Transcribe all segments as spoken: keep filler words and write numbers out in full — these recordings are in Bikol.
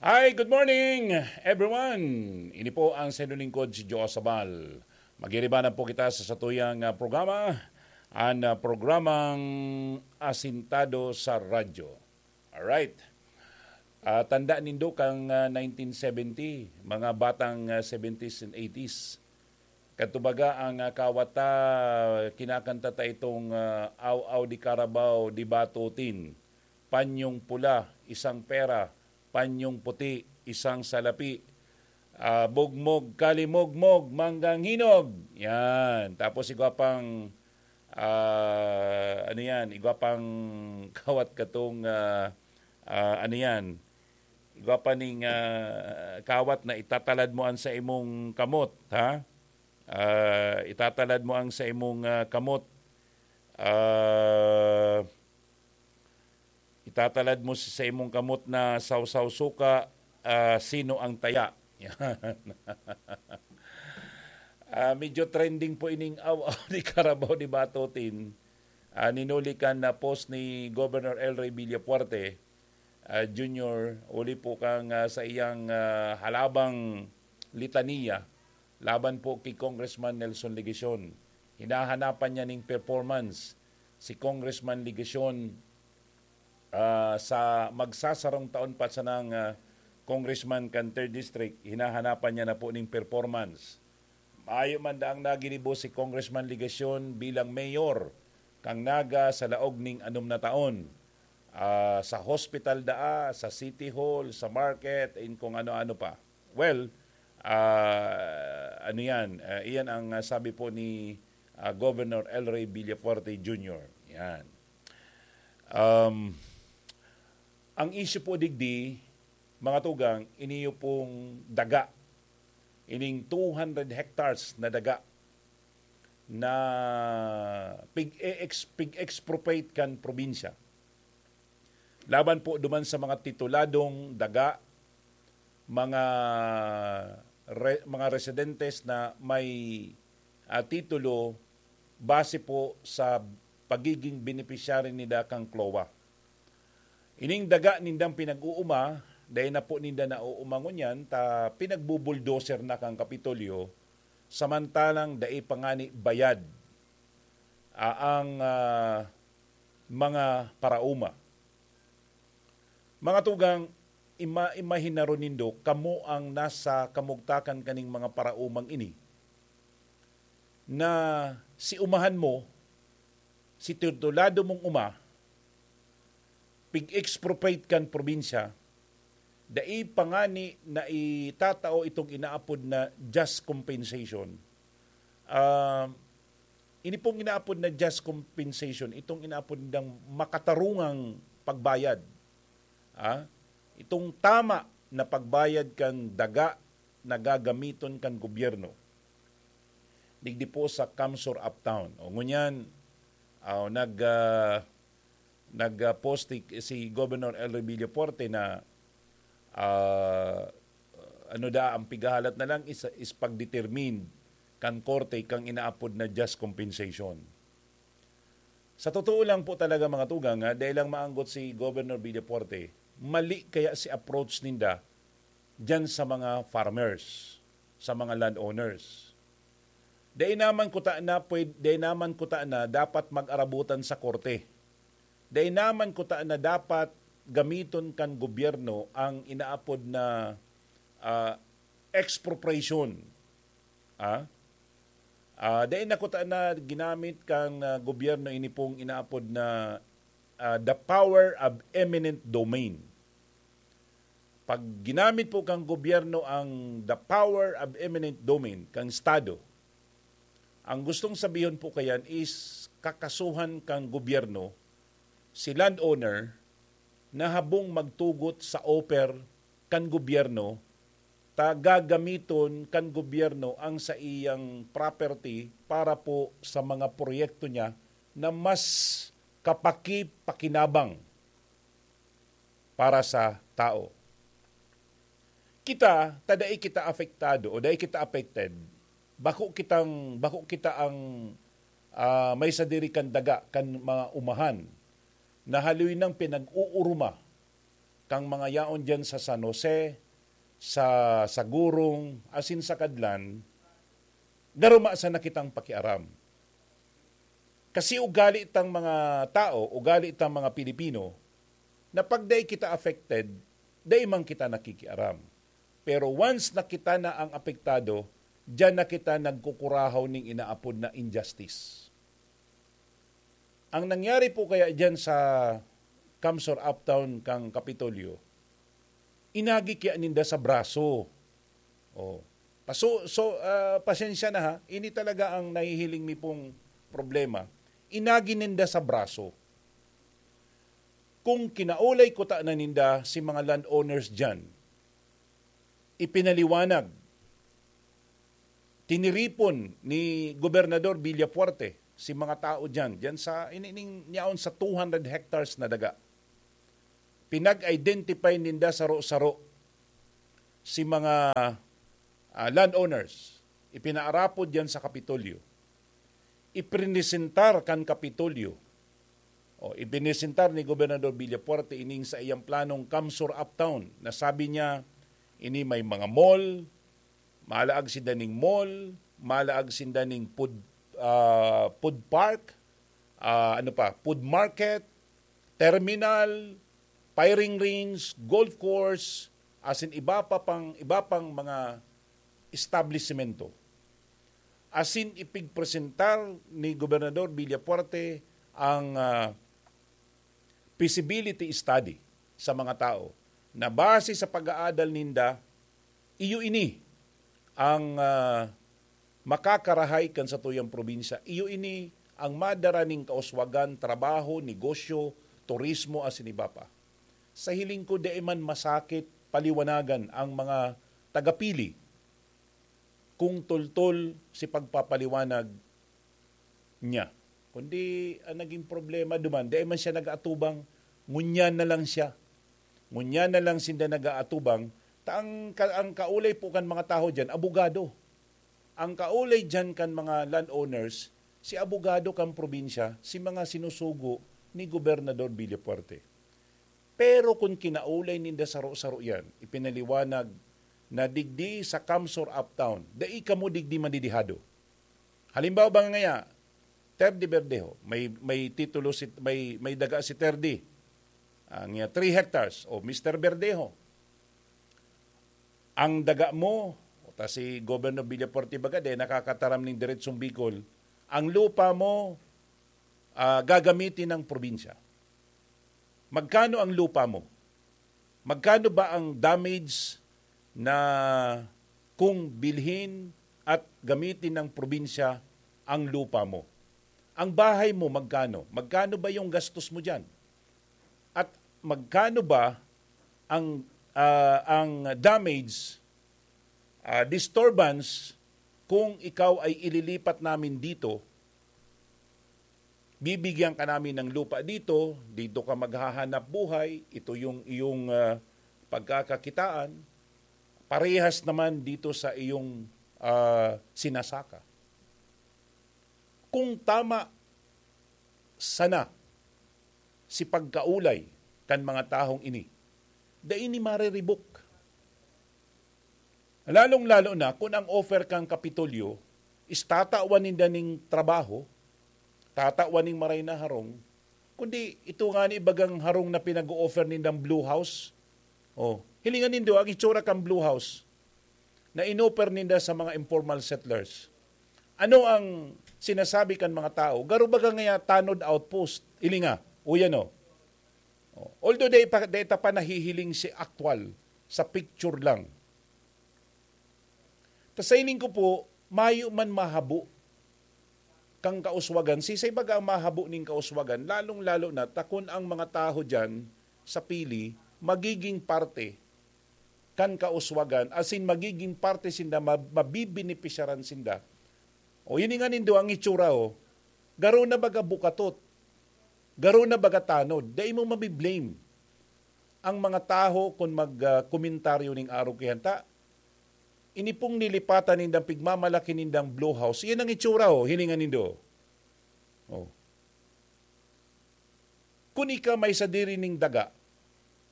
Hi, good morning, everyone! Ini po ang sa inyong lingkod, si Joe Sabal. Magiribanan po kita sa satuyang, ah, programa, ang, ah, programang Asintado sa Radyo. Alright. Ah, tanda nindo kang, ah, nineteen seventy, mga batang, ah, seventies and eighties. Kadto baga ang, ah, kawat ta, kinakanta ta itong, ah, "Aw-aw di karabaw, di batutin, panyong pula, isang pera, panyong puti, isang salapi, ah, bugmog, kalimogmog, manggang hinog." Yan. Tapos igwa pang, ah, ano yan, igwa pang kawat katong, ah, ah, ano yan, igwa pa ning, ah, kawat na itatalad mo an sa imong kamot, ha? Ah, itatalad mo ang sa imong, ah, kamot. Ah, itatalad mo sa, sa imong kamot na sawsaw suka, ah, sino ang taya? Yan. Ah, medyo trending po ining aw-aw ni Carabao ni Batotin. Ah, ninuli kan na post ni Governor El Rey Villafuerte, ah, Junior, uli po kang, ah, sa iyang, ah, halabang litaniya laban po kay Congressman Nelson Legacion. Hinahanapan niya ning performance si Congressman Legacion, ah, sa magsasarong taon pa sanang, ah, congressman kan third District, hinahanapan niya na po ning performance. Mayo man daang naginibo si Congressman Legacion bilang mayor kan Naga sa laog ning anom na taon. Ah, sa hospital daa, sa City Hall, sa market, in kung ano-ano pa. Well, ah, ano yan? Ah, iyan ang, ah, sabi po ni, ah, Governor El Rey Villafuerte Junior. Yan. Um, ang issue po digdi, mga tugang, iniyo pong daga. Ining two hundred hectares na daga na pig-e-ex-, pig-expropriate kan probinsya. Laban po duman sa mga tituladong daga, mga re-, mga residentes na may, ah, titulo base po sa pagiging beneficiary nida kan CLOA. Ining daga nindang pinag-uuma, dai na po ninda nauuma ngunyan, ta pinagbubuldoser na kan Kapitolyo, samantalang dai pa ngani bayad, ah, ang, ah, mga parauma. Mga tugang, ima-, imahinaron nindo, kamo ang nasa kamugtakan kaning mga paraumang ini, na si umahan mo, si titulado mong uma, pig-expropriate kan probinsya, dai pa ngani na itatao itong inaapod na just compensation. Ah, ini pong inaapod na just compensation, itong inaapod nang makatarungang pagbayad. Ah, itong tama na pagbayad kan daga na gagamiton kan gobyerno. Digdi po sa Kamsur Uptown. O ngunyan, ah, nag, ah, nag, ah, post si, si Governor El Rey Villafuerte na, ah, ano da, ang pigahalat na lang is, is pagdetermine kan korte kang inaapod na just compensation. Sa totoo lang po talaga, mga tugang, ha, dai lang maanggot si Governor Villafuerte, mali kaya si approach ninda diyan sa mga farmers, sa mga landowners. Dai naman kuta na pwed-, dai naman kuta na dapat mag-arabutan sa korte. Dai naman kuta na dapat gamiton kan gobyerno ang inaapod na, ah, expropriation. Ah? Ah, dai na kuta na ginamit kan, ah, gobyerno ini pong inaapod na, ah, the power of eminent domain. Pag ginamit po kan gobyerno ang the power of eminent domain kan estado, ang gustong sabihon po kayan is kakasuhan kan gobyerno si landowner na habong magtugot sa offer kan gobyerno, ta gagamiton kan gobyerno ang saiyang property para po sa mga proyekto niya na mas kapakipakinabang para sa tao. Kita, ta dai kita apektado o dai kita affected, bako kitang, bako kita ang, ah, may sadiri kan daga kan mga umahan na haloy nang pinag-uuruma kang mga yaon diyan sa San Jose, sa, sa Gurong, asin sa Kadlan, garuma sana kitang pakiaram. Kasi ugali tang mga tao, ugali tang mga Pilipino, na pag dai kita affected, dai man kita nakikiaram. Pero once na kita na ang apektado, diyan na kita nagkukurahaw ning inaapod na injustice. Ang nangyari po kaya diyan sa Kamsor Uptown kang Kapitolyo, inagi kaya ninda sa braso. Oh. Paso, so, ah, pasensya na ha, ini talaga ang nahihiling mi pong problema. Inagi ninda sa braso. Kung kinaulay kuta na ninda si mga landowners diyan, ipinaliwanag, tiniripon ni Gobernador Villafuerte si mga tao diyan, diyan sa, ini-, ning, niyaon sa two hundred hectares na daga. Pinag-identify ninda saro-saro si mga, ah, landowners. Ipinaarapod diyan sa Kapitolyo. Iprinisentar kan Kapitolyo. O, iprinisentar ni Gobernador Villafuerte ining sa iyang planong Kamsur Uptown na sabi niya, ini may mga mall, malaag sinda ning mall, malaag sinda ning food, ah, food park, ah, ano pa, food market, terminal, firing range, golf course, asin iba pa pang, iba pang mga establisemento. Asin ipigpresentar ni Gobernador Villafuerte ang, ah, feasibility study sa mga tao na base sa pag-aadal ninda, iyo ini ang, ah, makakarahay kan satuyang probinsya. Iyo ini ang madara ning kauswagan, trabaho, negosyo, turismo, asin iba pa. Sa hiling ko, dai man masakit paliwanagan ang mga tagapili kung tultol si pagpapaliwanag niya. Kundi ang naging problema duman, dai man siya nag-aatubang, ngunyan na lang siya. Ngunyan na lang sinda nag-aatubang, ta ang ka-, ang kaulay po kan mga tawo diyan, abogado. Ang kaulay diyan kan mga landowners, si abogado kan probinsya, si mga sinusugo ni Gobernador Villafuerte. Pero kun kinaulay ninda saro-saro yan, ipinaliwanag na digdi sa Kamsor Uptown, dai kamo digdi madidihado. Halimbawa ba ngaya, Terdy Verdejo, may, may titulo si, may, may daga si Terdy. Ang, ah, three hectares, o Mister Verdejo, ang daga mo, o ta si Governor Villafuerte baga, dai nakakataram ning diretsong Bicol, ang lupa mo, ah, gagamitin ng probinsya. Magkano ang lupa mo? Magkano ba ang damage na kung bilhin at gamitin ng probinsya ang lupa mo? Ang bahay mo, magkano? Magkano ba yung gastos mo diyan? At magkano ba ang, ah, ang damage, ah, disturbance kung ikaw ay ililipat namin dito? Bibigyan ka namin ng lupa dito, dito ka maghahanap buhay, ito yung iyong, ah, pagkakakitaan, parehas naman dito sa iyong, ah, sinasaka. Kung tama sana si pagkaulay kan mga tahong ini, dai ini mariribok. Lalong-lalo na kun ang offer kan Kapitolyo is tatawan ninda ning trabaho, tatawan ning maray na harong, kundi ito nga ni bagang harong na pinag-o-offer nindang Blue House. Oh, hilingan nindo ang itsura kan Blue House na inoffer ninda sa mga informal settlers. Ano ang sinasabi kan mga tao? Garo baga ngaya tanod outpost, hilinga, o yan o. Oh. Although dai pa, dai ta pa nahihiling si actual, sa picture lang. Ta sa hiling ko po, mayo man mahabo kang kauswagan, sisay baga ang mahabo ning kauswagan, lalong-lalo na ta kun ang mga tawo diyan sa pili magiging parte kan kauswagan, as in, magiging parte sinda, ma-, mabibenepisyaran sinda. O, hilinga nindo ang itsura, o. Garo na baga bukatot. Garo na baga tanod. Dai mo mabi-blame ang mga tawo kun mag, ah, komentaryo ning arog kaiyan ta. Ini pong nilipatan nindang pigmamalaki nindang Blue House, yan ang itsura, o, hilinga nindo. O. Kun ika may sadiri ning daga,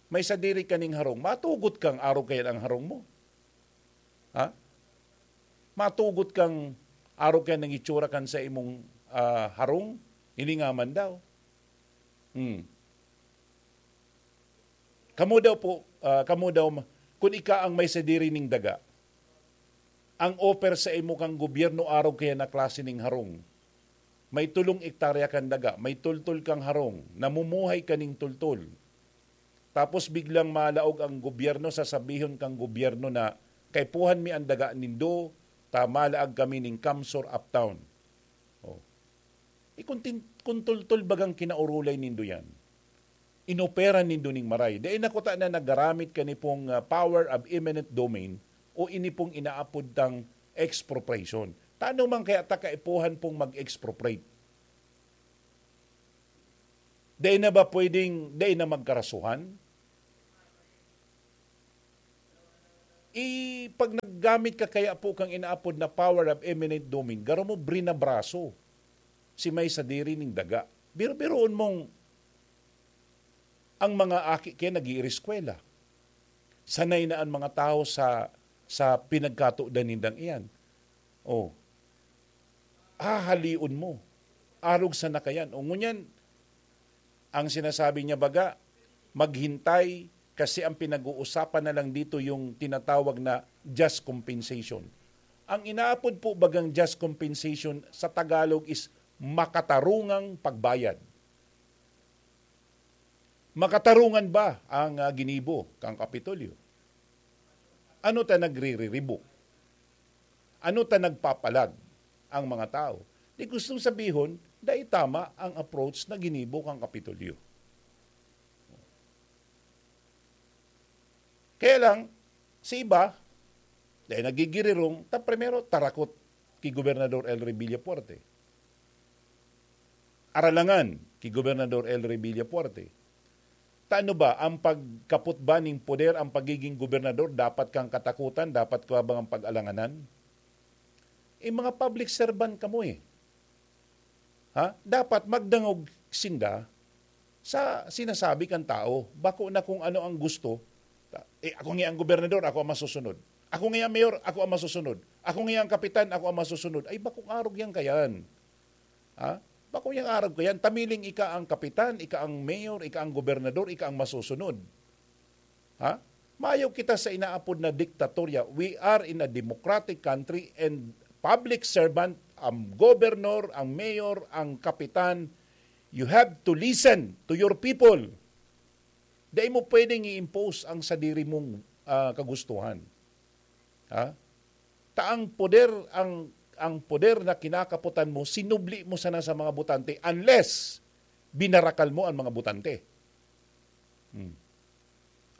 may sadiri ka ning harong, matugot kang arog kaiyan ang harong mo. Ha? Matugot kang arog kaiyan ang itsura kan saimong, ah, harong? Hilinga man daw. Hmm. Kamo daw po, ah, kamo daw ma-, kun ika ang may sadiri ning daga, ang offer saimo kan gobyerno arog kaiyan na klase ning harong, may tolong ektarya kang daga, may tultol kang harong, namumuhay ka ning tultol. Tapos biglang malaog ang gobyerno, sasabihon kang gobyerno na, "Kaipuhan mi an daga nindo, ta malaag kami ning CamSur uptown." Oh. Eh, kun tin-, kun tultol bagang kinaurulay nindo yan, inopera nindo ning maray, dai na kuta na nagaramit ka ni pong, ah, power of eminent domain o ini pong inaapod tang expropriation. Tano man kaya ta kaipuhan pong mag-expropriate? Dai na ba pwedeng, dai na magkarasuhan? I, pag naggamit ka kaya po kang inaapod na power of eminent domain, garo mo brinabraso si may sadiri ning daga. Biro-biroon mong ang mga aki kaya nag-iireskwela. Sanay na ang mga tao sa, sa pinagkatudan nindang iyan. Oh. Hahalion mo. Arog sa nakayan. O ngunyan, ang sinasabi niya baga, maghintay kasi ang pinag-uusapan na lang dito yung tinatawag na just compensation. Ang inaapod po bagang just compensation sa Tagalog is makatarungang pagbayad. Makatarungan ba ang, ah, ginibo kan Kapitolyo? Ano ta nagririribo? Ano ta nagpapalag ang mga tao? Di gustong sabihon, dai tama ang approach na ginibo kan Kapitolyo. Kaya lang, sa iba, dahil nagigirirong, ta primero, tarakot ki Gobernador Elry Villafuerte. Aralangan ki Gobernador Elry Villafuerte. Ta ano ba, ang pagkapot ba ning poder, ang pagiging gobernador, dapat kang katakutan, dapat ka bang pag-alanganan? Eh, mga public servant kamo eh. Ha? Dapat magdangog sinda sa sinasabi kan tao. Bako na kung ano ang gusto. Ta-, eh, ako nga ang gobernador, ako ang masusunod. Ako nga ang mayor, ako ang masusunod. Ako nga ang kapitan, ako ang masusunod. Ay, bakong arog yan kayan. Ha? Bakong yang arog kayan. Tamiling ika ang kapitan, ika ang mayor, ika ang gobernador, ika ang masusunod. Ha? Mayo kita sa inaapod na diktatorya. We are in a democratic country and public servant, ang governor, ang mayor, ang kapitan, you have to listen to your people. Dai mo pwedeng i-impose ang sadiri mong, ah, kagustuhan. Ha? Ta ang poder, ang, ang poder na kinakapotan mo, sinubli mo sana sa mga botante unless binarakal mo ang mga botante. Hmm.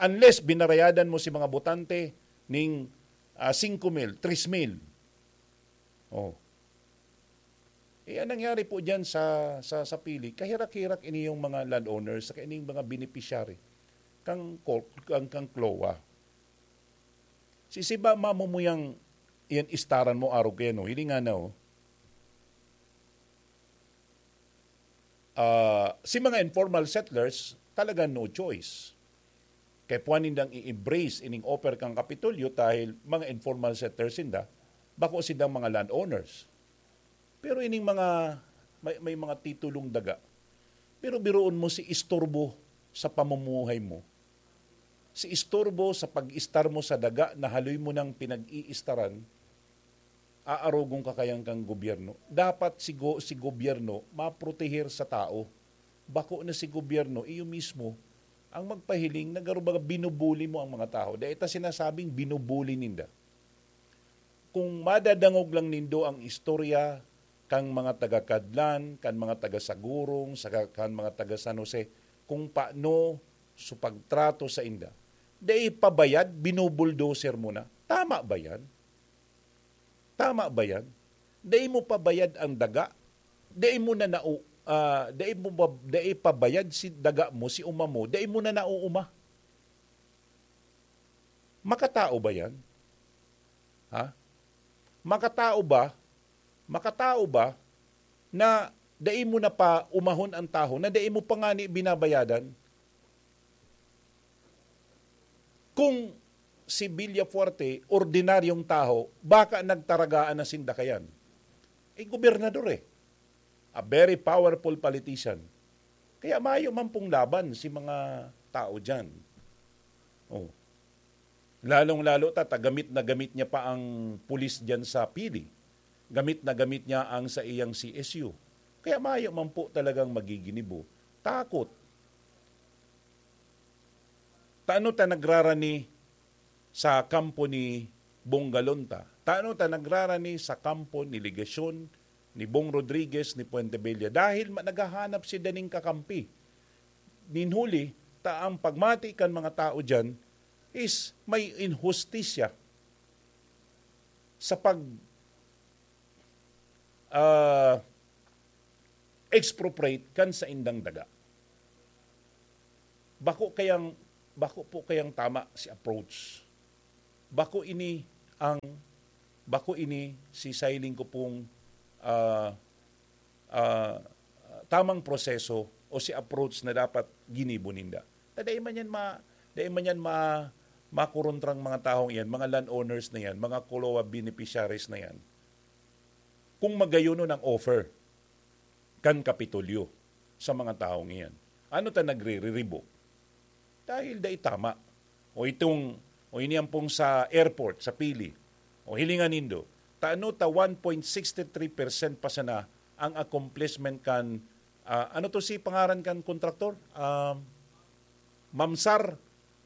Unless binarayadan mo si mga botante ning, ah, singko mil, tres mil. Oh. Eh, ang nangyari po diyan sa, sa, sa Pili, kahirak-hirak ini yung mga landowners, saka ining mga beneficiary kang cor-, kang, kang CLOA. Si Siba, mamumuyang yan istaran mo, arog kayan, no? Hiling nga na, oh. Ah, si mga informal settlers, talaga no choice. Kaya puwan nindang i-embrace ining offer kang Kapitolyo dahil mga informal settlers sinda, bako sindang mga landowners. Pero ining mga, may, may mga titulong daga. Pero biruon mo si istorbo sa pamumuhay mo. Si istorbo sa pag-istar mo sa daga na haloy mo nang pinag-iistaran, aarogon ka kayan kang gobyerno. Dapat si go-, si gobyerno, maproteher sa tao. Bako na si gobyerno, iyo mismo, ang magpahiling na garo baga binubuli mo ang mga tao. Dai ta sinasabing binubuli ninda. Kung madadangog lang nindo ang istorya kan mga taga Cadlan, kan mga taga Sagurong, saka kan mga taga San Jose, kung paano su pagtrato sainda. Dai pa bayad, binubuldoser mo na. Tama ba yan? Tama ba yan? Dai mo pa bayad ang daga? Dai mo na nau-, ah, dai mo ba, dai pa bayad si daga mo, si uma mo, dai mo na nauuma? Makatao ba yan? Ha? Makatao ba? Makatao ba na dai mo na pa umahon ang tahaw, na dai mo pa ngani binabayadan? Kung si Villafuerte, ordinaryong tawo, baka nagtaragaan na sinda kayan. Eh, gobernador eh. A very powerful politician. Kaya mayo man pong laban si mga tao dyan. Oh. Lalong-lalo ta, ta gamit na gamit niya pa ang pulis dyan sa Pili. Gamit na gamit niya ang sa iyang C S U. Kaya mayo man po talagang magiginibo. Takot. Tano ta nagrarani sa kampo ni Bong Galonta? Tano ta nagrarani sa kampo ni Legacion, ni Bong Rodriguez, ni Fuentebella? Dahil ma-, naghahanap sila ning kakampi. Nin huli, ta ang pagmati kan mga tao dyan is may inhustisya sa pag, ah, expropriate kan saindang daga. Bako kayang, bako po kayang tama si approach. Bako ini ang, bako ini si siring ko pong, ah, ah, tamang proseso o si approach na dapat ginibo ninda. Ta dai man yan ma-, dai man yan ma-, makorontrang mga taong iyan, mga landowners na yan, mga COLOA beneficiaries na yan. Kung magayonon ang offer kan Kapitolyo sa mga taong iyan, ano ta nagre-revoke? Dahil dai tama. O itong, o ini ang pong sa airport, sa Pili. O hilingan nindo, tano ta one point six three percent pa sana ang accomplishment kan, ah, ano to si pangaran kan kontraktor? Ah, Mamsar,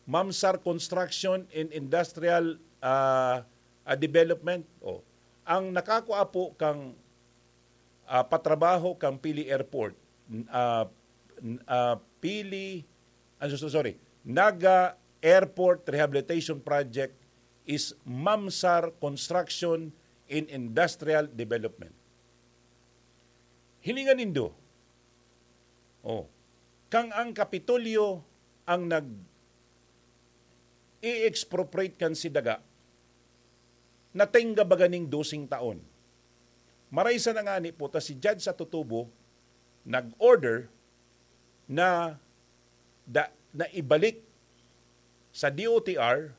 Mamsar Construction and Industrial, ah, ah, Development. O, ang nakakua po kang, ah, patrabaho kang Pili Airport, n-, ah, n-, ah, Pili, ah, so-, sorry, Naga Airport Rehabilitation Project is Mamsar Construction and Industrial Development. Hilingan nindo, oh, kang ang Kapitolyo ang nag-i-expropriate kan si daga, natingga baga ning doseng taon. Maray sana ngani po ta si Judge Atutubo nag-order na da-, na ibalik sa D O T R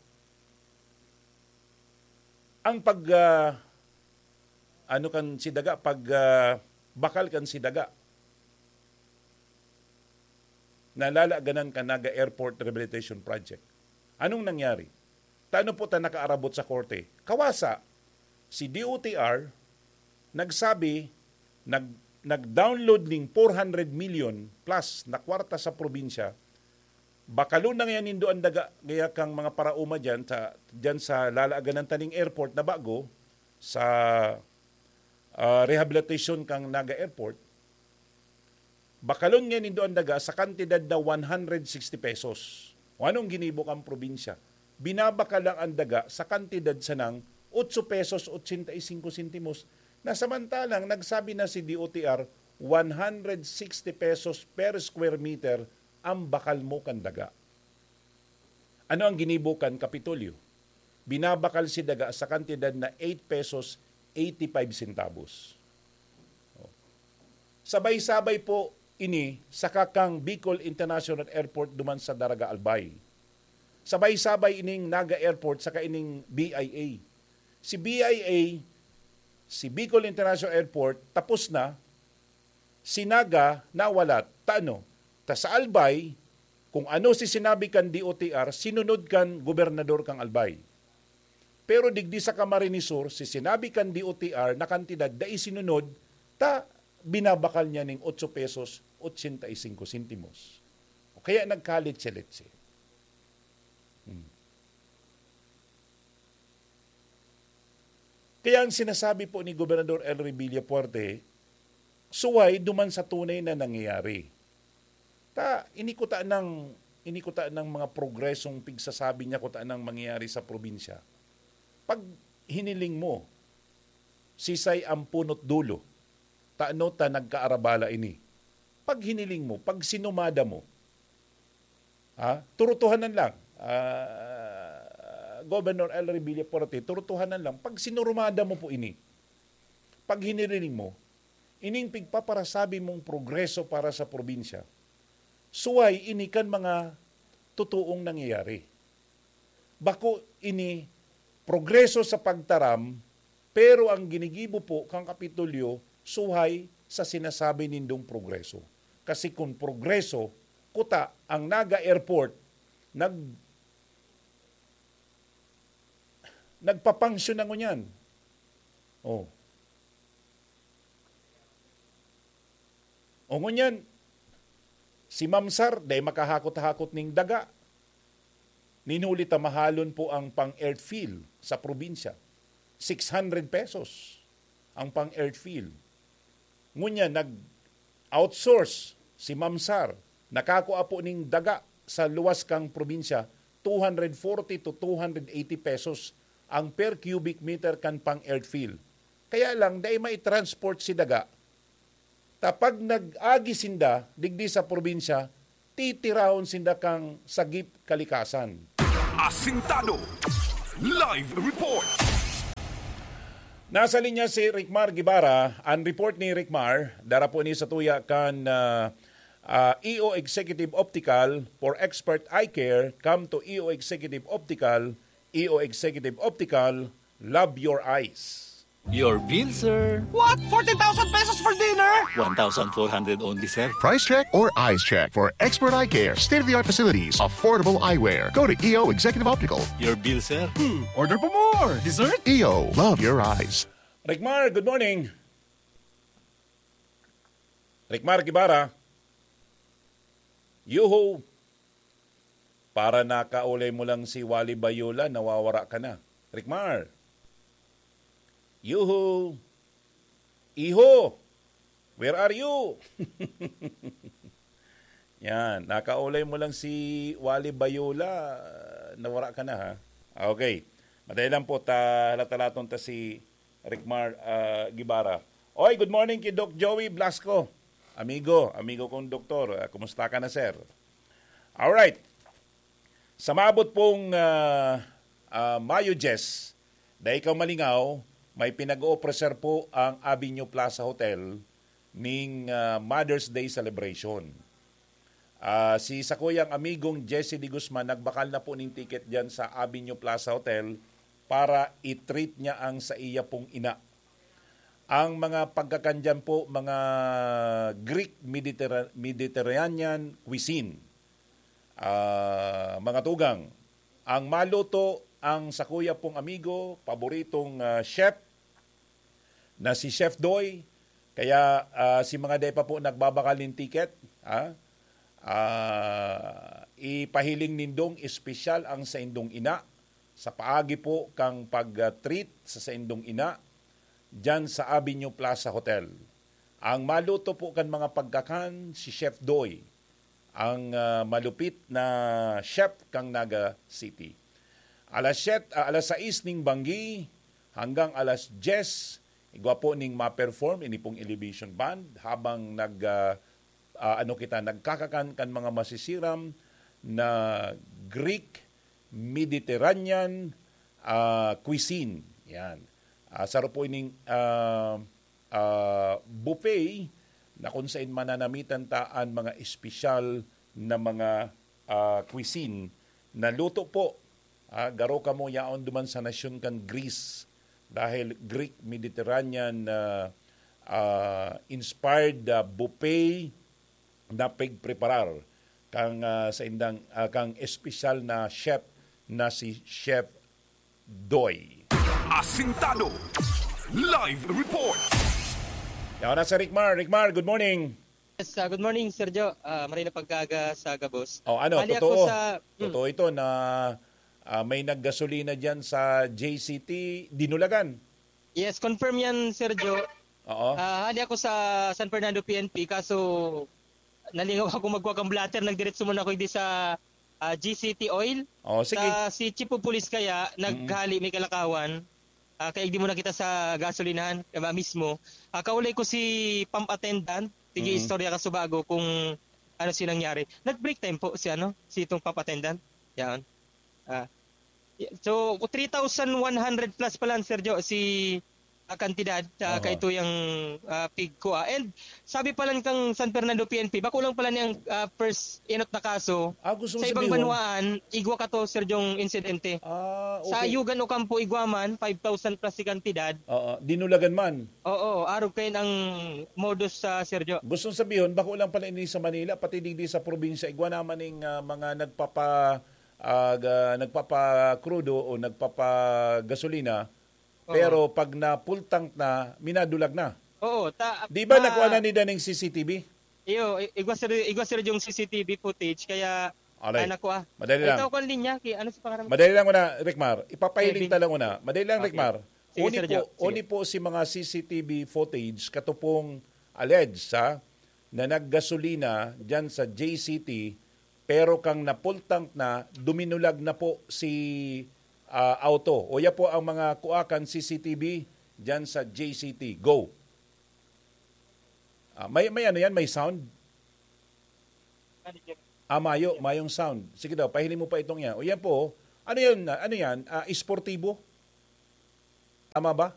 ang pag, ah, ano kan si daga, pag, ah, bakal kan si daga na lalaganan kan Naga Airport Rehabilitation Project. Anong nangyari? Tano po ta nakaarabot sa korte? Kawasa, si D O T R nagsabi, nag-, nag-download ning four hundred million plus na kwarta sa probinsya, bakalon na ngayon nindo ang daga, gaya kang mga paraoma dyan sa, dyan sa lalaganan taning airport na bago, sa, ah, rehabilitation kang Naga Airport, bakalon ngayon nindo ang daga sa kantidad na one hundred sixty pesos. O anong ginibo kang probinsya? Binabakal lang ang daga sa kantidad sanang otso pesos ochenta y cinco sentimos, na samantalang nagsabi na si D O T R, one hundred sixty pesos per square meter ang bakal mo kan daga. Ano ang ginibo kan Kapitolyo? Binabakal si daga sa kantidad na eight pesos eighty-five centavos. Oh. Sabay-sabay po ini sa kakang Bicol International Airport duman sa Daraga, Albay. Sabay-sabay ining Naga Airport saka ining B I A. Si B I A, si Bicol International Airport, tapos na, si Naga nawala. Ta ano? Ta sa Albay, kung ano si sinabi kan D O T R, sinunod kan gobernador kang Albay. Pero digdi sa Camarines Sur, si sinabi kan D O T R na kantidad, dai sinunod, ta binabakal niya ning otso pesos ochenta y cinco sentimos. O kaya nagkaletse-letse. Hmm. Kaya ang sinasabi po ni Gobernador Elry Villafuerte, suway duman sa tunay na nangyayari. Ta, ini kuta ng, ini kuta ng mga progresong pigsasabi niya kuta ng mangyayari sa probinsya. Pag hiniling mo, sisay ang punot dulo, tano ta nagkaarabala ini. Pag hiniling mo, pag sinumada mo, ha? Turutuhanan lang, ah, Governor Elry Villafuerte, turutuhanan lang. Pag sinurumada mo po ini, pag hiniling mo, ining pigpaparasabi mong progreso para sa probinsya, suway ini kan mga totoong nangyayari. Bako ini progreso sa pagtaram, pero ang ginigibo po kan Kapitolyo suhay sa sinasabi nindong progreso. Kasi kung progreso, kuta ang Naga Airport, nag-, nagpapangsyon na ngunyan. Oh. O ngunyan, si Mamsar, dai makahakot-hakot ning daga. Nin huli ta mahalon po ang pang-earth fill sa probinsya. Six hundred pesos ang pang-earth fill. Ngunyan, nag-outsource si Mamsar. Nakakua po ning daga sa luwas kang probinsya, two hundred forty to two hundred eighty pesos ang per cubic meter kan pang-earth fill. Kaya lang, dai mai-transport si daga. Ta pag nag-agi sinda digdi sa probinsya, titirahon sinda kang sagip kalikasan. Asintado. Live report. Nasa linya si Ricmar Guevara. Ang report ni Ricmar, dara po ni sa tuya kan, ah, ah, E O Executive Optical. For expert eye care, come to E O Executive Optical. E O Executive Optical, love your eyes. Your bill, sir. What? Fourteen thousand pesos for dinner? One thousand four hundred only, sir. Price check or eyes check for expert eye care, state-of-the-art facilities, affordable eyewear. Go to E O Executive Optical. Your bill, sir. Hmm, order pa more. Dessert? E O, love your eyes. Ricmar, good morning. Ricmar Guevara. Yuhu! Para nakaulay mo lang si Wally Bayola, nawawara ka na. Ricmar! Yuhu! Iho! Where are you? Yan, nakaulay mo lang si Wally Bayola, nawara ka na, ha? Okay. Madali lang po, ta, halatalaton ta si Ricmar, ah, Guevara. Oy, good morning kay Doc Joey Blasco. Amigo, amigo kong doktor. Ah, kumusta ka na, sir? Alright. Sa maabot pong, ah, ah, Mayo diyes, dai ka malingaw, may pinag-oofreser po ang Avenue Plaza Hotel ning, ah, Mother's Day celebration. Ah, si sakuyang amigong Jesse de Guzman nagbakal na po ning ticket diyan sa Avenue Plaza Hotel para i-treat niya ang saiya pong ina. Ang mga pagkakan diyan po, mga Greek Mediterra-, Mediterranean cuisine. Ah, mga tugang, ang maluto ang sakuya pong amigo, paboritong, ah, chef, na si Chef Doy. Kaya, ah, si mga dai pa po nagbabakal nin ticket, ha? Ah, ipahiling nindong espesyal ang saindong ina sa paagi po kang pag-treat sa saindong ina diyan sa Avenue Plaza Hotel. Ang maluto po kan mga pagkakan, si Chef Doy, ang, ah, malupit na chef kang Naga City. Alas siyete, ah, alas sais ning banggi hanggang alas diyes, igwa po ning ma-perform ini pong Elevation Band habang nag, ah, ah, ano kita, nagkakakan kan mga masisiram na Greek Mediterranean, ah, cuisine. Yan. Ah, saro po ining, ah, ah, buffet na kung sain mananamitan ta an mga espesyal na mga, ah, cuisine na luto po, ah, garo kamo yaon duman sa nasyon kan Greece, dahil Greek Mediterranean, ah, ah, inspired, ah, buffet na pigpreparar kang, ah, saindang, ah, kang espesyal na chef na si Chef Doy. Asintado. Live report. Yaon na si Ricmar. Ricmar, good morning. Yes, ah, good morning, Sir Joe. Ah, maray na pagkaaga sa gabos. Oh, ano, Bali ako totoo? sa, mm. Totoo ito na, ah, may naggasolina diyan sa J C T, Dinulagan. Yes, confirm yan, Sir Joe. Oo. Ah, hali ako sa San Fernando P N P, kaso nalingaw ako magkuha kang blotter, nagdiretso muna ako di sa, ah, G C T Oil. Oh, sige. Sa si Chief of Police kaya, Mm-mm. naghali may kalakawan. Ah, kaya di mo nakita sa gasolinahan, kaya mismo. Ah, kaulay ko si pump attendant, sige, Mm-mm. istorya ka subago kung ano si nangyari. Nag-break time po si ano, si itong pump attendant. Yan. Ah, y-, so, three thousand one hundred plus pala, Sir Joe, si ah, kantidad, ah, Aha. kaito yang, ah, pigkua. And sabi pa lang kang San Fernando P N P, bako lang pala niyang, ah, first inot na kaso. Ah, gusto mo Sa ibang sabihon? banwaan, igwa ka to, Sir Jong, insidente. Ah, Sa okay. Yugan Ocampo, igwa man, five thousand plus si kantidad. Oo, dinulagan man. Oo, arog kayo ang modus sa Sir Jo. Gusto sabihon, bako lang pala ini sa Manila, pati digdi sa probinsya, igwa naman ning, ah, mga nagpapa-, ah, ga-, nagpapakrudo o nagpapagasolina, Oo. Pero pag na full tank na, minadulag na. Oo, ta-, Di ba ma- nakuha na ni Daning C C T V? Iyo, i-, igwa sir, igwa sir yung C C T V footage, kaya Alay. ah, nakuha. Madali lang. Ito, kung linya, ki-, ano si pangalan mo? Madali lang muna, Ricmar. Ipapahiling Kevin. ta lang muna. Madali lang, Okay. Ricmar. Sige, Uni Sir po, Jo. Sige. uni po si mga C C T V footage katupong alleged, ha, na naggasolina dyan sa J C T, pero kang na-full tank na, duminulag na po si, ah, auto. Uya po ang mga kuakan C C T V dyan sa J C T. Go. Ah, may, may ano yan? May sound? Ah, mayo, mayong sound. Sige daw, pahiling mo pa itong yan. O yan po, ano yan? Ano yan? Ah, esportibo? Tama ba?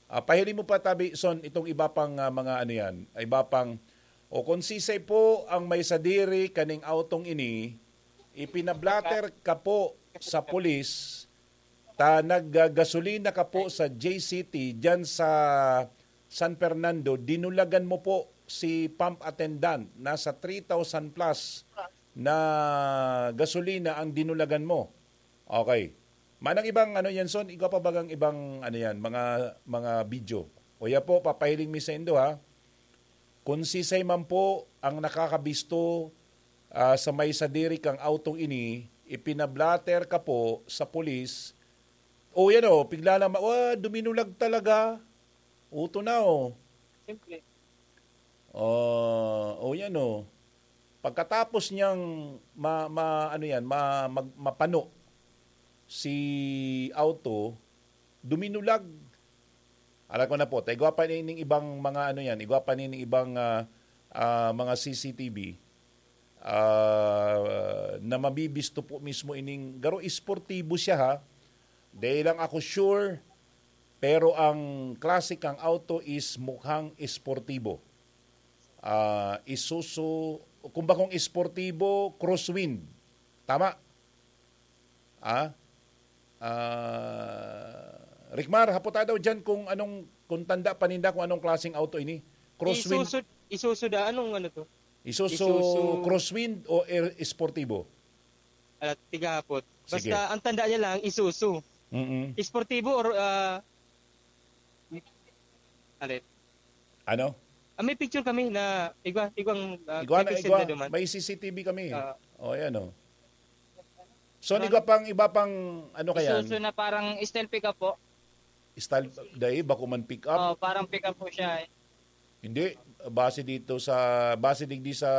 Ah, pahiling mo pa, tabi, Son, itong iba pang, ah, mga ano yan, iba pang, o kung sisay po ang may sadiri kaning autong ini, ipinablatter ka po sa pulis, ta naggasolina ka po sa J C T dyan sa San Fernando, dinulagan mo po si pump attendant, nasa three thousand plus na gasolina ang dinulagan mo. Okay. Manang ibang ano yan, Son? Igwa pa bagang ibang ano yan, mga, mga video? O ya po, papahiling mi sa indo, ha? Kung sisay man po ang nakakabisto, ah, sa may sadiri kang autong ini, ipinablatter ka po sa pulis. O yan o, pigla lang ma-, "Wa, duminulag talaga." Uto na o. Siyempre. Ah, o yan o. Pagkatapos niyang ma-, ma-, ano yan, ma-, mag-, mapano si auto, duminulag. Alam ko na po, ta igwa pa ning ibang mga ano yan, igwa pa ning ibang, ah, ah, mga C C T V, ah, na mabibisto po mismo ining, garo esportibo siya ha. Dai lang ako sure, pero ang klase kang auto is mukhang esportibo. Ah, Isuzu, kung bakong esportibo, crosswind. Tama? Ah? Ah, Ricmar, hapota daw dyan kung anong, kung tanda pa ninda kung anong klaseng auto ini. Crosswind. Isuzu, Isuzu da, anong ano to? Isuzu Isuzu. Crosswind o Air Esportivo? Ala, tigahapot. Sige. Basta ang tanda niya lang, Isuzu. Mm-mm. Esportivo or, ah, alin? Ano? Ah, may picture kami na igwa, igwang, ah, Igwa na, may igwa. senda duman. May C C T V kami. Ah. O, ayan o. So, Ano? igwa pang, iba pang, ano kaya? Isuzu na parang style pickup po. Style, dai, bako man pick up. Oh, parang pick up po siya eh. Hindi, base dito sa, base digdi sa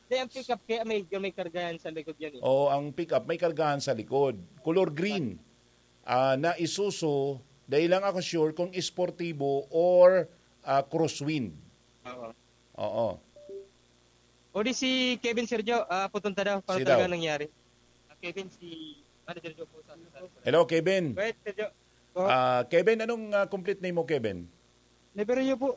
Hindi, ang pick up kaya may, may kargahan sa likod yan eh. Oo, ang pick up may kargahan sa likod. Color green. Ah, na Isuzu, dai lang ako sure kung esportibo or, ah, crosswind. Oo. Oo. O di si Kevin, Sergio, ah, pupunta daw para Sige daw. talaga nangyari. Ah, Kevin, si Manager Joe po sa Hello, Kevin. Wait, Sergio. Po. Ah, Kevin, anong, ah, complete name mo, Kevin? Neverio po.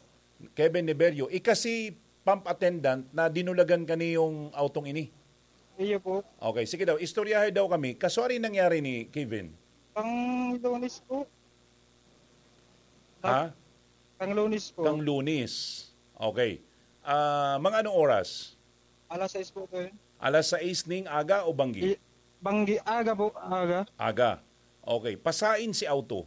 Kevin Neverio. Ika si pump attendant na dinulagan ka niyong autong ini? Iyo po. Okay, sige daw. Istoryahay daw kami. Kaswari nangyari ni Kevin? Pang Lunes po. Ha? Pang Lunes po. Pang Lunes. Okay. Ah, mga anong oras? Alas sais po, sir. Alas sais ning aga o banggi? I-, banggi, aga po, aga. Aga. Okay. Pasain si auto?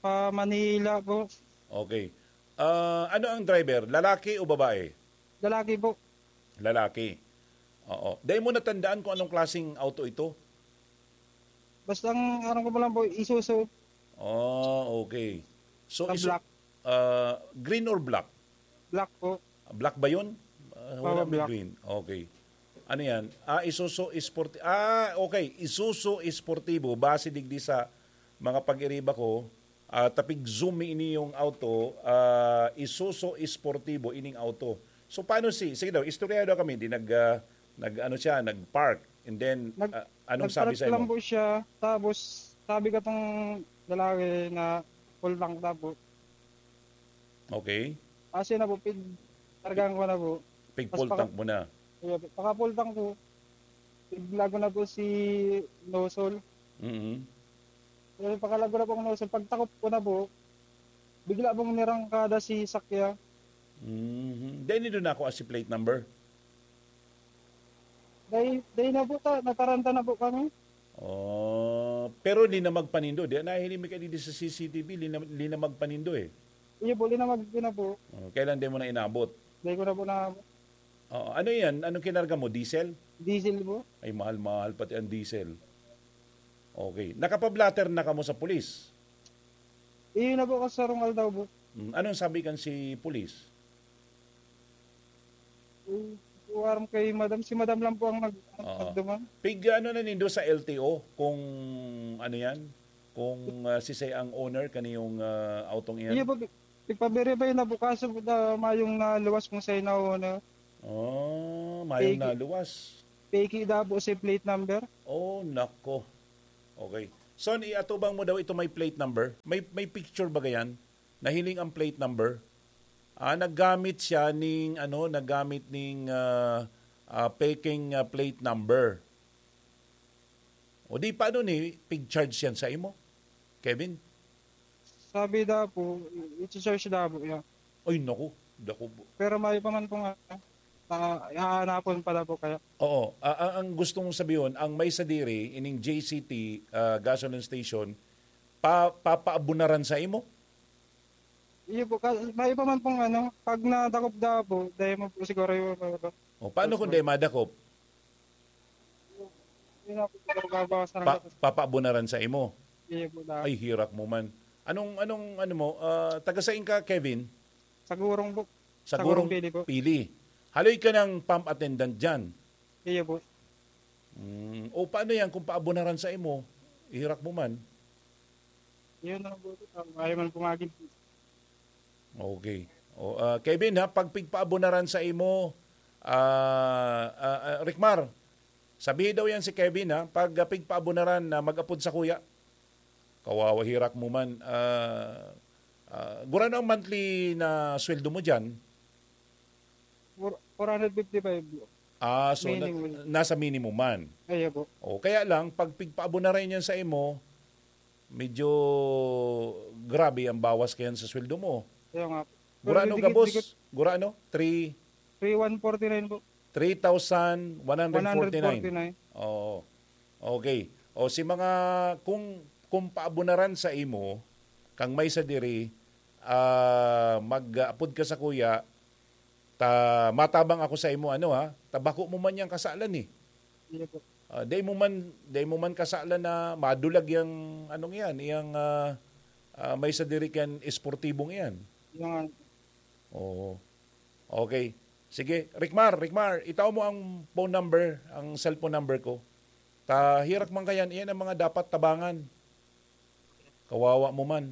Pa Manila po. Okay. Ah, ano ang driver? Lalaki o babae? Lalaki po. Lalaki. Oo. Dai mo natandaan kung anong klaseng auto ito? Basta ang aram ko pa lang po, Isuzu. Oh, okay. So, Na Isu-, black. ah, green or black? Black po. Black ba yun? Ah, Baka wala may black. green. Okay. Ano yan? Ah, Isuzu Sporti-, ah, okay. Isuzu Sportivo. Base digdi sa mga pag-iriba ko, ah, tapig zoom mi ini yung auto, ah, Isuzu Sportivo ining auto. So, paano si, sige daw, istorya daw kami, di nag, ah, nag, ano siya, nag-park. And then, Nag-, ah, anong sabi nag-park sa lang imo? po siya, tapos sabi ka tong lalaki na, full tank na po. Okay. Kasi na po, pig-, kargaan ko na po. Pig-full tank mo na. Pag-full tank ko, piglago na po si nozzle. Mm-hmm. Pero pagkalago na po ang nozzle, pagtakop ko na po, bigla pong nirangkada si sakya. Mm-hmm. Then, nindot na ako as si plate number. Dai, dai na po ta, nataranta na po kami. Oh, pero linamag pa nindo. Di, nahiling mi kayo di sa C C T V, lina-, linamag pa nindo eh. Iyo po, linamag ko na po. Oh, kailan di mo na inabot? Dai ko na po na. Oh, ano yan? Anong kinarga mo? Diesel? Diesel po. Ay, mahal-mahal pati ang diesel. Okay. Nakapablatter na kamo sa pulis? Iyo na po, kasarong aldaw po. Mm, anong sabi kan si pulis? Eh, aram kay madam, si madam lang po ang nag-, Oo. nagduman. Pig, ano na nindo sa L T O kung ano yan? Kung, ah, sisay ang owner kaniyong, ah, autong iyan? Iyo po, pi-, ipa-verify na po kaso po na mayong naluwas kung sa'yo na owner. Oh, mayong Peki. naluwas. Peki daw po si plate number. Oh, nako. Okay. Son, iatubang mo daw ito may plate number. May, may picture ba yan? Nahiling ang plate number. Ah, naggamit siya ning, ano, naggamit ning, ah, ah, peking, ah, plate number. O di, paano ni pig-charge yan sa imo, Kevin? Sabi daw po, i-, i-charge daw po yan. Ay, naku, naku po. Pero may pa man pong, ah, ah, hahanapon pala po kaya. Oo, ah, ang, ang gusto mong sabihin, ang may sadiri, ining J C T, ah, gasoline station, pa-, papaabunaran sa imo? Iyo po, ka-, may pa man pong ano, pag nadakop daw po, dahil mo po siguro yung, ano, O, paano kung Tapos di madakop? Yun nga po, siguro babawasan ang Pa-, gatas. papaabunaran sa imo? Iyo po, dahil Ay, hirak mo man. Anong, anong, ano mo, ah, taga sain ka, Kevin? Sa Gurong po. Sa Sa Gurong Gurong Pili po. Pili. Haloy ka ng pump attendant dyan. Iyo po. Mm, o paano yan kung paabunaran sa imo? Hirak mo man. Yun ang buti, ah, ayaw man pumagid. Okay. O, ah, Kevin, ha, pag pigpaabunaran sa imo, ah, ah, ah, Ricmar, sabihi daw yan si Kevin, ha, pag, ah, pigpaabunaran na mag-apod sa kuya. Kawawa, hirak mo man. Ah, ah, gurano ang monthly na sweldo mo dyan? Four-, four hundred fifty-five po. Ah, so na-, Minimum. nasa minimum man. Ayo po. O, kaya lang, pag pigpaabunaran yan sa imo, medyo grabe ang bawas kayan sa sweldo mo. Kaya nga po. Pero Gurano dikit-dikit. gabos? Gurano? Three Three one forty-nine po. Three thousand one hundred forty-nine. One hundred forty-nine. Oo. Okay. O si mga, kung, kung paabunaran sa imo, kang may sadiri, ah, mag-apod ka sa kuya, ta, matabang ako sa imo, ano ha, ta bako mo man yang kasalan eh. Iya po. Ah, dai mo man, dai mo man kasalan na madulag yang, anong yan, yang, ah, ah, may sadiri kan esportibong iyan. Yan. Oo. Okay. Sige, Ricmar, Ricmar, itao mo ang phone number, ang cellphone number ko. Ta, hirak man kayan, iyan ang mga dapat tabangan. Kawawa mo man.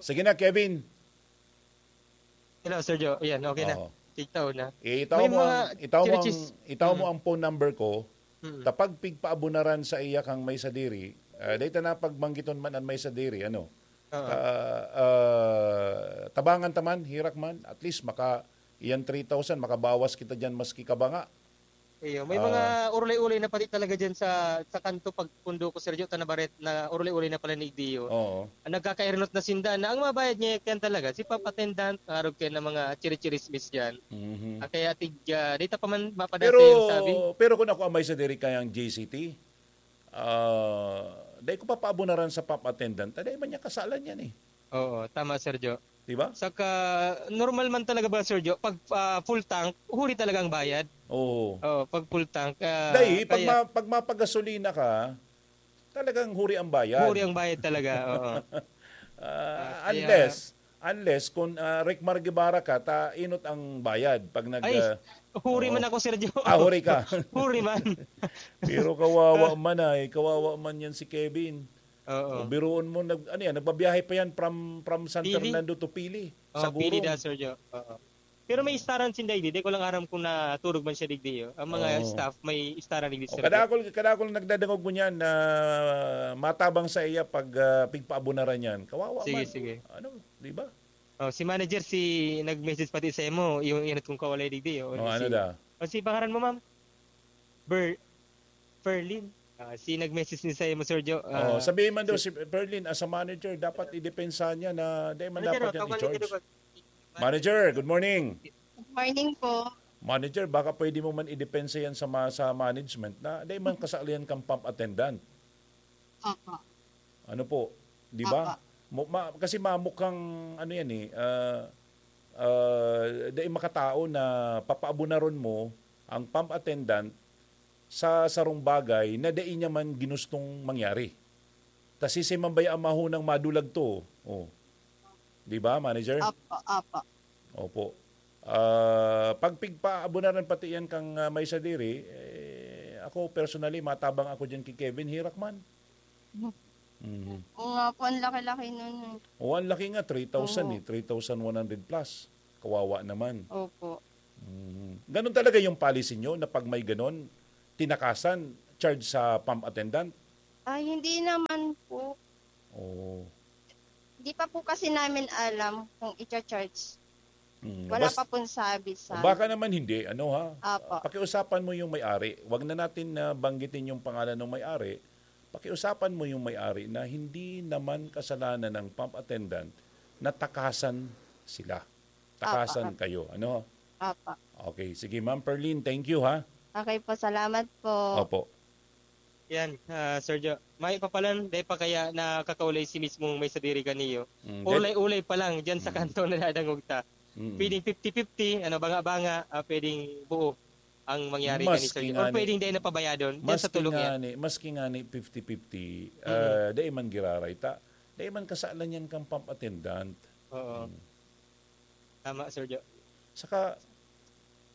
Sige na, Kevin. Hello, Sir Joe. Ayan, okay na. Oo. Tigtaw na. Eh, itaw May mo mga ang, itaw mo ang, chirichis. itaw mo Mm. ang phone number ko. Mm. Ta pag pigpaabunaran sa iya kang may sadiri, ah, dahil ta na pagbanggiton man ang may sadiri, ano? Oo. Ah, ah, tabangan ta man, hirak man, at least maka, iyan three thousand, makabawas kita diyan maski kabanga. Iyo, may Ah. mga urulay-ulay na pati talaga diyan sa, sa kanto pagpundo ko, Sir Joe, ta nabaret na urulay-ulay na pala ni Igdiyo. Oo. Ang nagkakairnot na sinda na ang mabayad niya yan talaga, si Papa Attendant, arog kayo ng mga chiri-chirismis diyan. Mhm. Ah, kaya tig, ah, di ta pa man mapadasa Pero, yung sabi. pero kung ako amay sa diri kayang J C T, ah, dai ko papaabunaran sa pump attendant, dai man niya kasalan yan eh. Oo, tama, Sir Joe. Di ba? Saka, normal man talaga ba, Sir Joe? Pag, ah, full tank, huri talaga ang bayad. Oo. Oo, pag full tank, ah, Dai, pag kaya ma-, pag mapagasolina ka, talagang huri ang bayad. Huri ang bayad talaga, oo. Ah, Ah, kaya unless, unless kung, ah, Ricmar Guevara ka, ta inot ang bayad pag nag, Ay, ah, huri oo. man ako, Sir Joe. Ah, huri ka. Huri man. Pero kawawa man ay, kawawa man yan si Kevin. Oo. O, biruon mo, nag-, ano yan, nagbabiyahe pa yan from, from San Pili. Fernando to Pili, Oo, sa Pili Gurong. na, Sir Joe. Oo. Pero may istaran sinda digdi. Di ko lang aram kung naturog man siya digdi, oh. Ang mga Oo. staff, may istaran digdi O, sa kadakol, kadakol nagdadangog mo niyan na matabang sa iya pag, ah, pigpaabunaran niyan. Kawawa Sige, man. sige. Ano, di ba? Oh, si manager, si nag-message pati sa imo, yung inat kong kawalay digdi, oh. Oh, Ano ano si, da? oh, si pangaran mo, ma'am? Ber-, Ferlin. Ah, si nag-message ni sa imo, Sir Joe. Oh, Ah, sabihin man daw si si Ferlin, as a manager, dapat idepensa niya na di man Manager, dapat oh, yan kawalay i-charge. ka daw. Manager, good morning. Good morning po. Manager, baka pwede mo man idepensa yan sa ma-, sa management na di man kasali yan kang pump attendant. Opo. Ano po, di ba? Opo. Mo-, ma-, kasi mamukhang ano yan eh, ah, ah, dai makatao na papaabunaron mo ang pump attendant sa sarong bagay na dai niya man ginustong mangyari. Ta siisay man baya ang mahunang madulag to? Oh. Di ba, manager? Opo, opo. Opo. Ah, pag pigpaabunaran pati yan kang, ah, may sadiri, eh, ako personally, matabang ako dyan kay Kevin Hirakman. Mhm. Oo nga po, ang laki-laki nun eh. O, ang laki nga, three thousand Oo. eh, three thousand one hundred plus. Kawawa naman. Opo. Mhm. Ganun talaga yung policy nyo na pag may ganun, tinakasan, charge sa pump attendant? Ay, hindi naman po. Oo. Di pa po kasi namin alam kung icha-charge. Mm, Wala bas-, pa pong sabi sa baka naman hindi, ano ha? Apo. Pakiusapan mo yung may-ari. Wag na natin na banggitin yung pangalan ng may-ari. Pakiusapan mo yung may-ari na hindi naman kasalanan ng pump attendant na takasan sila. Takasan Apo. kayo, ano? Apo. Okay, sige, Ma'am Perlin, thank you ha. Okay po, salamat po. Opo. Yan, ah, Sir Jo. May pa palan, dai pa kaya nakakaulay si mismong may sadiri kaniyo. Mm, Ulay-ulay pa lang dyan sa Mm. kanto na nadangog ta. Mm. Pwedeng fifty fifty, ano, banga-banga, ah, pwedeng buo ang mangyari kani, Sir Jo. Or ngani, pwedeng dai napabayadon, dyan sa maski tulong yan. ngani, maski ngani fifty fifty, Mm. ah, dai man giraray ta. Dai man kasalan yan kang pump attendant. Oo. Mm. Tama, Sir Jo. Saka,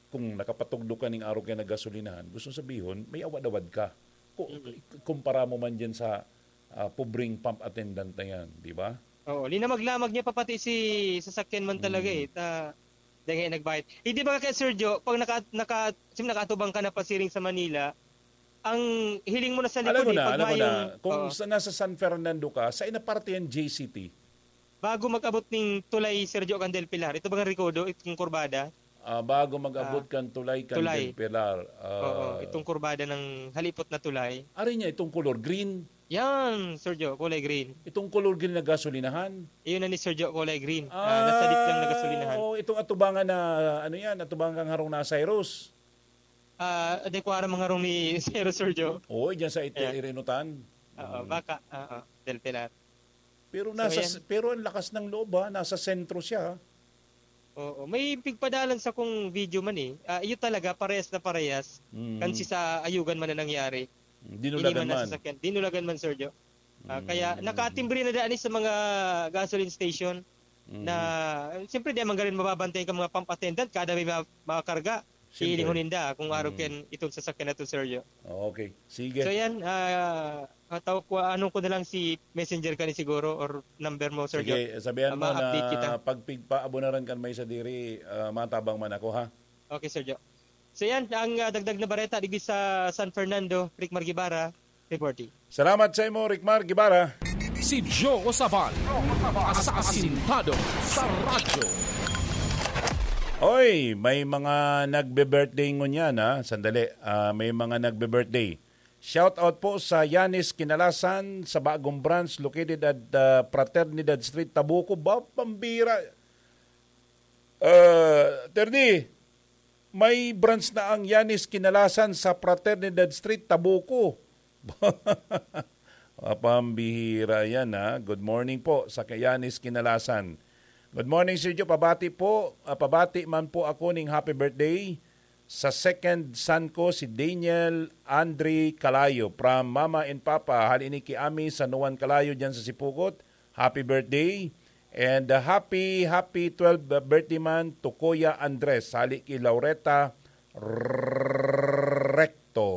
kung nakapatugdo ka ning arog kaya nagasolinahan, gusto sabihon, may awad-awad ka. Ku-, Mm. kumpara mo man dyan sa, ah, pobreng pump attendant na yan, di ba? Oo, linamag-lamag niya pa pati si sasakyan man talaga Mm. eh. Ta, dahil nagbayad. Hindi ba kaya, Sir Jo, pag naka-, naka-, sim-, nakaatubang ka na pasiring sa Manila, ang hiling mo na sa Alam likod mo eh, na, pag alam mo mayong na, kung Oo. sa, nasa San Fernando ka, sa inapartihan J C T, Bago mag-abot ning tulay, Sir Jo, kan Del Pilar, ito bang Recodo, itong kurbada? Ah, bago mag-abot Ah, kan tulay kan tulay. Del Pilar, ah, Oo, itong kurbada ng halipot na tulay. Ari niya, itong color green. Yan, Sir Jo, kulay green. Itong color green na gasolinahan. Iyon na ni Sir Jo, kulay green. Ah, nasa Ah, gitna na gasolinahan. Oo, itong atubangan na, ano yan, atubangan kang harong na Cyrus. Ah, adekwara mga rong ni Sir, Sir Jo. Oo, dyan sa iti-, Ayan. Irinutan. Oo, Mm. baka, oo, Del Pilar. Pero So, nasa ayan. s-, pero ang lakas ng loob, ha, nasa sentro siya, ha. Oo, may pigpadalan sa kung video man, eh. Ah, iyo talaga, parehas na parehas. Mm. Kan si sa Ayugan man na nangyari. Dinulagan Ini man na man. sasakyan. Dinulagan man, Sir Jo. Ah, kaya Mm. nakatimbre na daan sa mga gasoline station Mm. na, siyempre, di man garin mababantay ka mga pump attendant, kada may ma-, makarga. Siyempre. Hihiling ho ninda kung arog Mm. kan itong sasakyan na to, Sir Jo. Okay. Sige. So, yan, ah, ataw ko, ano ko na lang si messenger ka ni siguro or number mo, Sir Jo. Sige, sabihan Ah, mo na ma-update kita. pag pigpaabunaran kan may sadiri, ah, matabang man ako, ha? Okay, Sir Jo. So, yan, ang, ah, dagdag na bareta digdi sa San Fernando, Rick Margibara, reporting. Salamat sa imo, Rickmar Guevara. Si Joe Sabal, asasintado sa radyo. Oy, may mga nagbe-birthday ngunyan, ha? Sandali, ah, may mga nagbe-birthday. Shout out po sa Yanis Kinalasan sa bagong branch located at, ah, Fraternidad Street, Tabuco. Ba, pambira. Ah, Terdi, may branch na ang Yanis Kinalasan sa Fraternidad Street, Tabuco. Mapambihira yan, ha. Good morning po sa kay Yanis Kinalasan. Good morning, Sir Joe. Pabati po, ah, pabati man po ako ning happy birthday sa second son ko, si Daniel Andre Calayo, from Mama and Papa, hali ni Kiami, San Juan Calayo, dyan sa Sipukot. Happy birthday. And, uh, happy, happy twelve birthday man to Kuya Andres, hali ki Laureta Recto.